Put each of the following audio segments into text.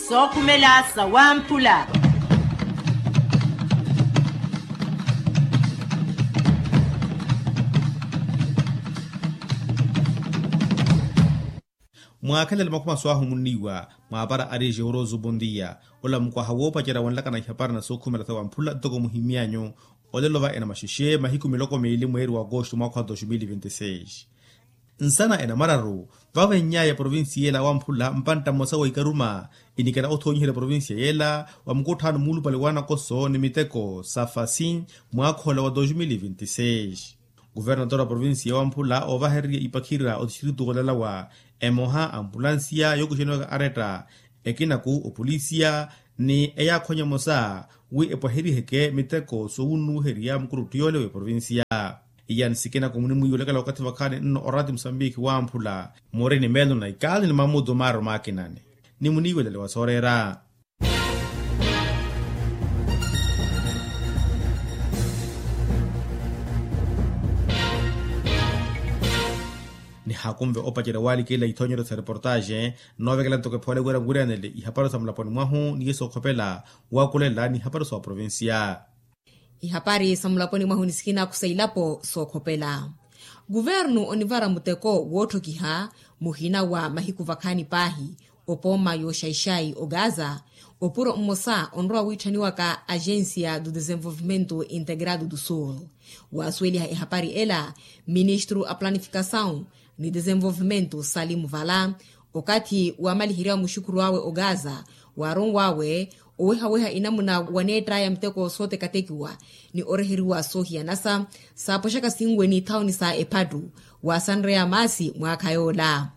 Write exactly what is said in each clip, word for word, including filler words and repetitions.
Sookhumela sawamphula. Mwaakhelele makhuma swaahumunniwa mwaapara ari jeoroso bondia. Ola mukwaha woopacerya wonlakana ihapari na sookhumela sawamphula ntoko muhimyanyu. Olelo va enamaxexe mahiku miloko miili mweeri wa agosto mwaakha wa dos mil vinti seis. Nsana enamararu vavenny'aya provincia ela wamphula mpantta mmosa wa ikaruma inikela othoonyiherya provincia yela wa mukutthano muulupale wa nakoso ni miteko sa fasi. Mwaakha ola wa dos mil vinti seis, kuvernator wa provincia wamphula oovahererya ipakhira otistritu olalawa emoha ampulansiya yookuxeniwaka aretta ekinaku opolisiya ni eyaakhwanya emosa wi epwaheriheke miteko soowunnuwiheriya mukuruttu yoole w'eprovincia. Iya ni sikinaku munimwiiwelekela wakathi vakhaani nno orati musambiki wamphula morini meelo na ikali ni mamutu maaro maakinani ni muniiwelele wa sooreera. Nihaakunve opacerya waalikela ithoonyeryo sa reportaxe noovekela ntoko ephoole wira nwiriyanele ihapari sa mulaponi mwahu ni yesu okhopela waakulela ni ihapari sa oprovincia. Ihapari sa mulaponi mwahu ni sikinaku sa ilapo sookhopela. Kuvernu onivara muteko wootthokiha muhina wa mahiku vakhaani paahi opooma yooxaixai ogaza. Opuro mmosa onrowa wiitthaniwaka agencia do desenvolvimento integrado do sul waasuweliha ehapari ela ministru a planifikasawu ni desenvolvimento salimu vala okathi waamaliheryawe muxukuru awe ogaza waaronwawe owehaweha inamuna waneett'aya muteko sooteketekiwa ni oreheriwa soohiyanasa saapoxaka sinwe n'ithawuni sa ephattu waasanreya maasi mwaakha yoola.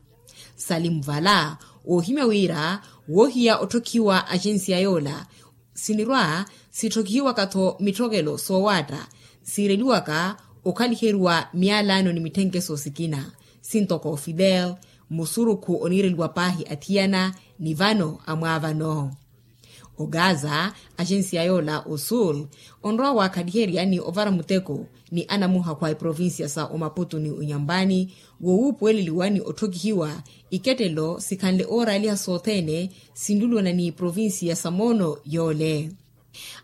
Salimu vala oohimya wira woohiya otthokhiwa agensiya yoola sinirwa sitthokihiwaka-tho mitthokelo soowaatta siireliwaka okhaliheriwa miyalano ni mitthenkeso sikina sintoko fidel musurukhu oniireliwa paahi athiyana ni vano amwaavano. Ogaza agensiya yoola osul onrowa waakhaliherya ni ovara muteko ni anamuhakhu a iprovincia sa omaputu ni onyambani woowuupuweleliwa ni otthokihiwa ikettelo sikhanle ooraaliha sothene sinlulwana ni provincia sa moono yoole.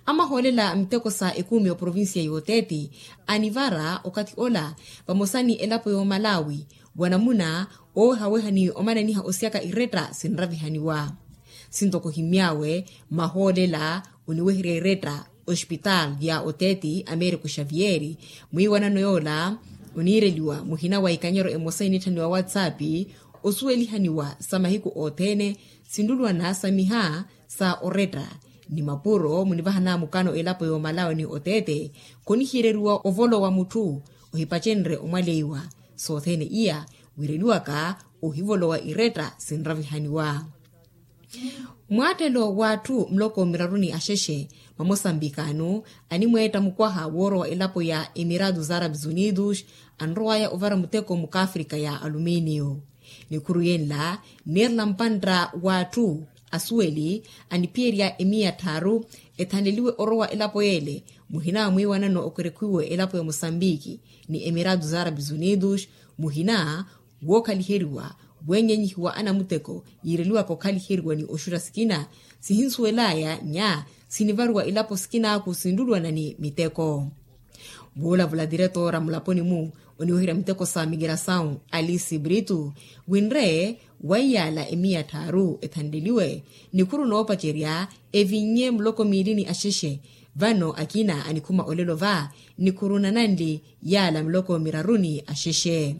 Amahoolela miteko sa ekumi oprovincia y'oteeti anivara okathi ola vamosa ni elapo y'omalawi wanamuna oowehaweha ni omananiha osiyaka iretta sinravihaniwa. Sintoko ohimmy'awe mahoolela oniweherya iretta ospitaal ya oteeti americo xavier mwiiwanano yoola oniireliwa muhina wa ikanyero emosa iniitthaniwa whatsapp osuwelihaniwa sa mahiku othene sinlulwana sa miha sa oretta ni mapuro munivahana mukano elapo y'omalawi ni oteete khonihiireriwa ovolowa mutthu ohipacenrye omwaleiwa sothene iya wiireliwaka ohivolowa iretta sinravihaniwa. Mwaattelo w'atthu muloko miraru ni axexe mamosambikano animweetta mukwaha woorowa elapo ya emiratos arabes unidos anrowaya ovara muteko mukafrika ya aluminio. Nikhuru yenla niirela mpantta w'atthu asuweli aniphiyerya emiya tthaaru ethanleliwe orowa elapo yeele muhina wa mwiiwanano okerekhiwe elapo ya mosambiki ni emiratos arabes unidos muhina wookhaliheriwa weenyenyihiwa anamuteko yiireliwaka okhaliheriwa ni oxutta sikina sihinsuwel'aya nya sinivariwa ilapo sikin'aku sinlulwana ni miteko. Vuulavula tiretora mulaponi-mu oniweherya miteko sa migrasawu alisi britu winre waiyaala emiya tthaaru ethanleliwe nikhuru noopacerya evinnye muloko miili ni axexe vano akina anikhuma olelo va nikhuru nananli yaala miloko miraru ni axexe.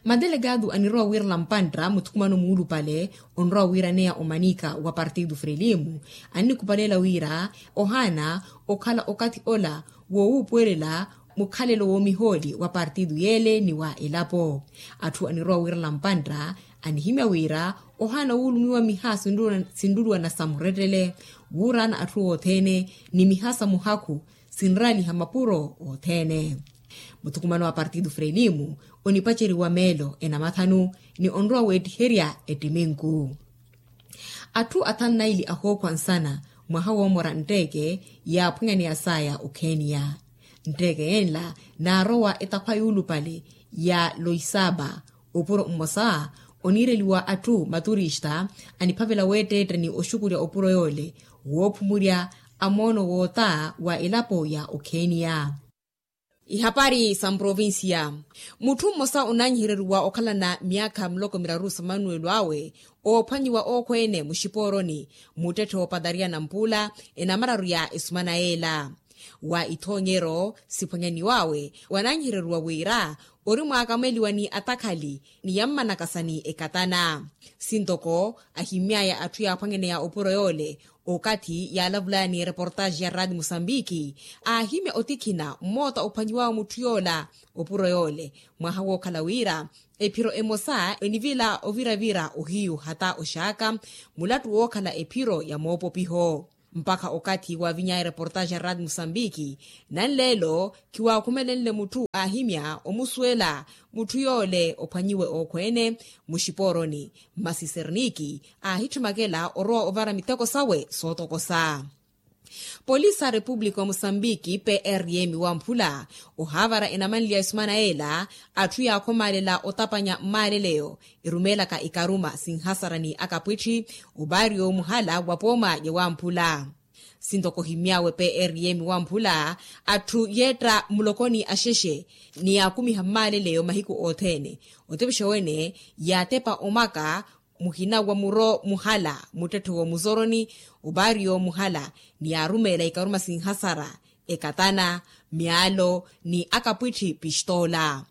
Madelegado anirowa wiirela mpantta muthukumano muulupale onrowa wiiraneya omanika wa partido frelimo annikhupalela wira ohaana okhala okathi ola woowuupuwelela mukhalelo woomihooli wa partido yeele ni wa elapo. Atthu anirowa wiirela mpantta anihimya wira ohaana wuulumiwa miha sinlulwana sa murettele wuuraana atthu othene ni miha sa muhakhu sinraaliha mapuro othene. Muthukumano wa partido frelimo onipaceriwa meelo enamathanu ni onrowa weettiherya ettiminku. Atthu athanu naili ahookhwa nsana mwaha woomora ntteke yaaphwanyaneya saya okheniya. Ntteke yenla naarowa etakhwa yuulupale ya loisaba opuro mmosa Oniireliwa atthu maturista aniphavela weetteetta ni oxukurya opuro yoole woophumurya a moono woota wa elapo ya okheeniya. Ihapari sa mprovincia. Mutthu mmosa onaanyiheryeriwa okhalana myaakha miloko miraru sa manuwelo awe oophwanyiwa ookhweene muxipooroni muttetthe woopatariya nampuula enamararu ya esumana yeela. Wa ithoonyero siphwanyaniw'awe wanaanyiheryeriwa wira ori mwaakamweliwa ni atakhali ni yammanakasa ni ekatana. Sintoko ahimmy'aya atthu yaaphwanyaneya opuro yoole okathi yaalavulaya ni ereportaaxi ya raati musambiki aahimya otikhina mmoota ophwanyiw'awe mutthu yoola opuro yoole mwaha wookhala wira ephiro emosa enivila oviravira ohiyu hata oxaaka mulattu wookhala ephiro ya moopopiho. Mpakha okathi waaviny'aya ereportaaxi ya raati musambiki nanleelo khiwaakhumelenle mutthu aahimya omusuwela mutthu yoole ophwanyiwe ookhweene muxipooroni masi serniki aahitthumekela orowa ovara miteko sawe sootokosa. Polisi a repupulika wa musambiki prm wamphula ohaavara enamanliya esumana yeela atthu yaakhomaalela otapanya mmaaleleyo erumeelaka ikaruma sinhasara ni akapwitthi obaariyo muhala wa pooma ya wamphula. Sintoko ohimmy'awe prm wamphula atthu yeetta mulokoni axexe ni yaakumiha mmaaleleyo mahiku othene otepexa wene yaatepa omaka muhina wa muro muhala muttetthe w'omuzoroni obaariyo muhala ni yaarumeela ikaruma sinhasara ekatana myaalo ni akapwitthi pistoola.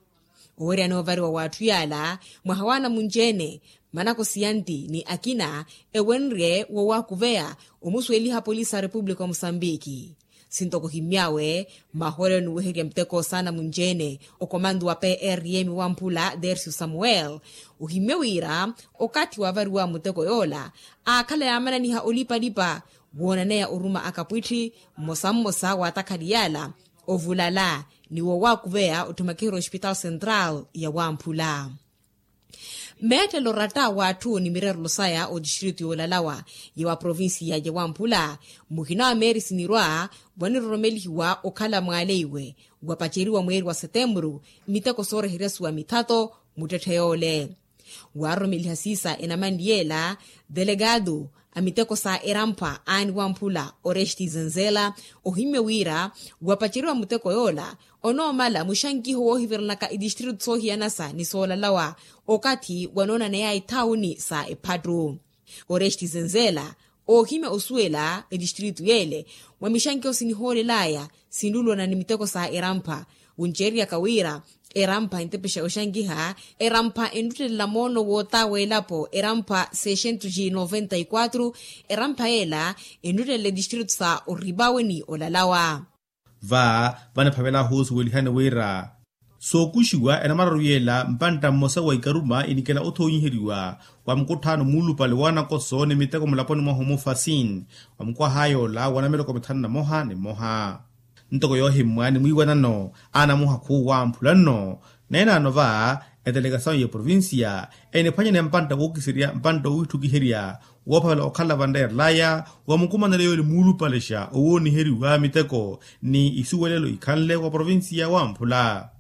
Oweryani ovariwa w'atthu yaala mwaha w'anamunci-ene manakosi ya nti ni akina ewenrye wowaakuveya omusuweliha polisi a repupulika wa musambiki. Sintoko ohimmy'awe mahoolelo niweherya miteko s'anamunci-ene okomantu wa prm wamphula dercio samuel ohimmye wira okathi waavariwa muteko yoola aakhala yaamananiha olipalipa woonaneya oruma akapwitthi mmosa mmosa w'atakhali yaala ovulala ni wowaakuveya otthumakiherya ospitaal central ya wamphula. Meettelo ratta w'atthu ni mirerelo saya otistritu yoolalawa ya wa provincia ya wamphula muhina wa meeri sinirwa waniroromelihiwa okhala mwaaleiwe wapaceriwa mweeri wa setemburu miteko sooreheryasuwa mithato muttetthe yoole. Waaroromeliha siisa enamanli yeela delegado a miteko sa erampa aani wamphula oresti zenzela ohimmye wira wapaceriwa muteko yoola onoomala muxankiho woohiverelanaka itistritu soohiyanasa ni soolalawa okathi wanoonaneyaya ithaawuni sa ephattu. Oresti zenzela oohimya osuwela etistritu yeele mwa mixankiho sinihoolelaya sinlulwana ni miteko sa erampha wunceeriyaka wira erampha entepexa oxankiha erampha enttuttelela moono woota w'elapo erampha seiscentos e noventa e quatro erampha yeela enttuttelela etistritu sa oripawe ni olalawa. Va vaniphavelaahu osuwelihani wira sookuxiwa enamararu yeela mpantta mmosa wa ikaruma inikela othoonyiheriwa wa mukutthaano muulupale w'anakoso ni miteko mulaponi mwahu mufasin wa mukwaha yoola wa namiroko mithanu na moha ni moha. Ntoko yoohimmwa ni mwiiwanano anamuhakhu wamphula nno neenaano va etelekasawu ya provincia eniphwanyane mpantta wookiserya mpantta owitthukiherya woophavela okhala vanreerelaya wa mukumanelo yoole muulupalexa owooniheriwa miteko ni isuwelelo ikhanle wa provincia wamphula.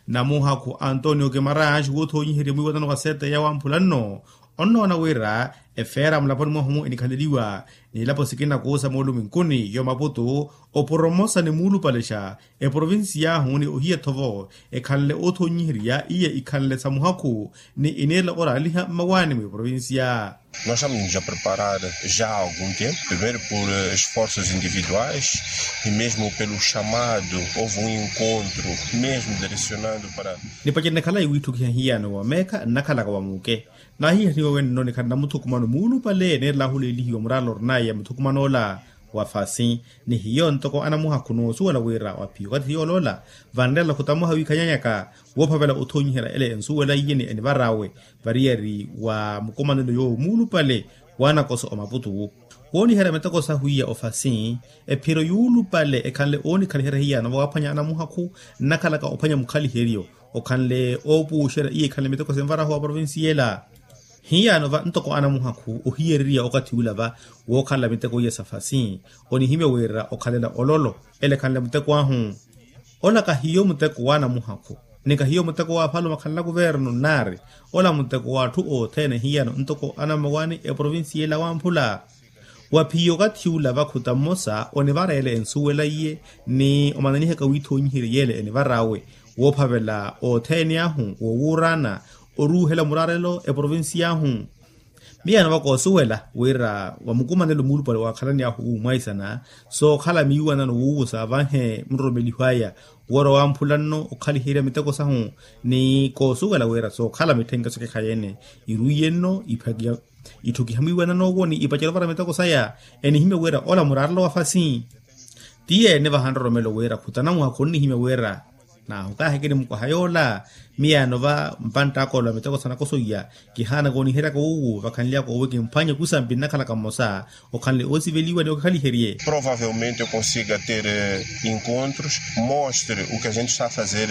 Namuhakhu antonio kemaranx woothoonyiherya mwiiwanano wa sete ya wamphula nno onnoona wira efeera mulaponi mwahu enikhaleliwa nilapo sikina kuusa mooluminkuni yo maputu oporomosa ni muulupalexa eprovincia ahu ni ohiya thovo ekhanle oothoonyiherya iya ikhanle sa muhakhu ni ineela oraaliha mmawaani mweprovincia. Nós estamos a preparar já há algum tempo primeiro por esforços individuais e mesmo pelo chamado houve um encontro mesmo direcionando para. Nipacerene khalayi wiitthukiha hiyano wa meekha nnakhalaka wa muuke naahihaniwa wenno nikhala namuthukumano muulupale neerela ahuleelihiwa muraala orinaye ya muthukumano ola wa fasi ni hiyo ntoko anamuhakhu noosuwela wira wa phiyo okathi yoola ola vanreela khutamuha wiikhanyanyaka woophavela othoonyiherya ele ensuwela iye ni enivar'awe variyari wa mukumanelo yoowo muulupale w'anakoso omaputu wooniherya miteko sahwiya ofasi ephiro yuulupale ekhanle oonikhaliherya hiyano vawaaphwanya anamuhakhu nnakhalaka ophwanya mukhaliheryo okhanle oopuuxerya iye ekhanle miteko sinvarahu wa provincia ela. Hiyano va ntoko anamuhakhu ohiyereriya okathi ula va wookhalela miteko iya sa fasi onihimya wira okhalela ololo ele ekhanle muteko ahu. Ola kahiyo muteko w'anamuhakhu Ni kahiyo muteko wa afalume akhanla kuvernu nnaari, ola muteko w'atthu othene hiyano ntoko anamawani eprovincia ela wamphula. Wa phiyo okathi ula vakhuta mmosa onivareela ensuwela iye, ni omananihaka wiithoonyiherye yeela enivar'awe woophavela othene ahu wowuuraana oruuhela muraarelo eprovincia ahu. Miyaano va koosuwela wira wa mukumanelo muulupale waakhalani ahu wuumwaisana sookhala miiwanano wuuwusa vanhe muroromeliho aya woora wamphula nno okhaliherya miteko sahu. Ni koosuwela wira sookhala mithenke sokekhayeene irwiye nno itthukiha mwiiwanano owo ni ipacela ovara miteko saya. Enihimya wira ola muraarelo wa fasi tiye nivaha nroromelo wira khutana mwaha khonnihimya wira nahu kaahikini mukwaha yoola. Miyaano va mpantta akoolo a miteko sanakosoiya kihaana kooniheryaka wuuwu vakhanly'aka owo kimphwanye kusampi nnakhalaka mmosa okhanle oosiveliwa ni okikhaliherye. Provavelmente consiga ter encontros mostre o que a gente está a fazer.